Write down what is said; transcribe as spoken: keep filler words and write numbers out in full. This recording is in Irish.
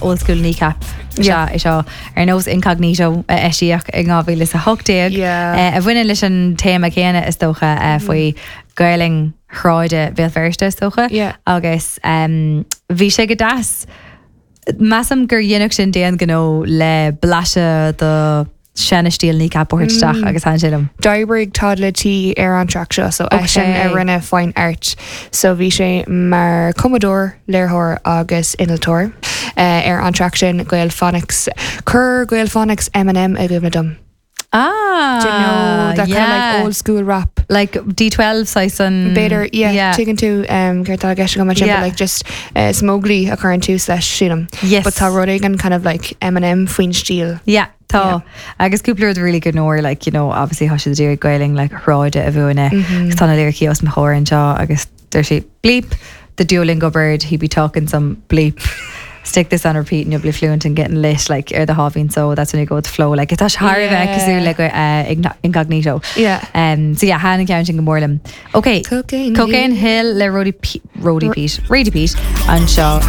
Old school Kneecap Yeah. é seo ar nós Incognito a eisíodh in dhá mhíle a hocht déag Yeah. a bhaineann leis an téama céanna is dócha mm. faoi Gaeilge shráide Bhéal Feirste is dócha Yeah. agus um, bhí sé go deas. Measaim gur dhéanadh sin déan gnó le blaiseadh de sean-stíl Kneecap isteach mm. agus thaitin sé liom. D'oibrigh Toddla T ar an track seo so eisean Okay. a rinne fine art so bhí sé mar cumadóir léiritheoir agus innealtóir uh, ar an track sin Gaelphonics Chuir Gaelphonics Eminem i gcuimhne dom. Ah, Do you know that yeah. kind of like old school rap? like D twelve sais an B'fhéidir yeah, yeah. tuigeann tú um, céard atá i gceist agam sin Yeah. but like just uh, Smogli a chuireann tús leis sílim. Yes. But tá rud éigin kind of like Eminem faoin stíl. Yeah, tá agus cúpla rud really good nóir like you know obviously tá siad ag Gaeilge like shráide a mhúineadh mm -hmm. Tá na lyricí os mo chomhair anseo agus deir sé bleep the Duolingo bird, he be talking some bleep, stick this on repeat and you'll be fluent and getting lit like ar the halving, so that's when you go with the flow like it's thar Yeah. bheith cosúil le uh, Incognito. Yeah. um so yeah thaitin an ceann sin go mór liom. Okay. Cocaine Cocaine Hill le Roddy P Roddy Pete Radie Pete anseo.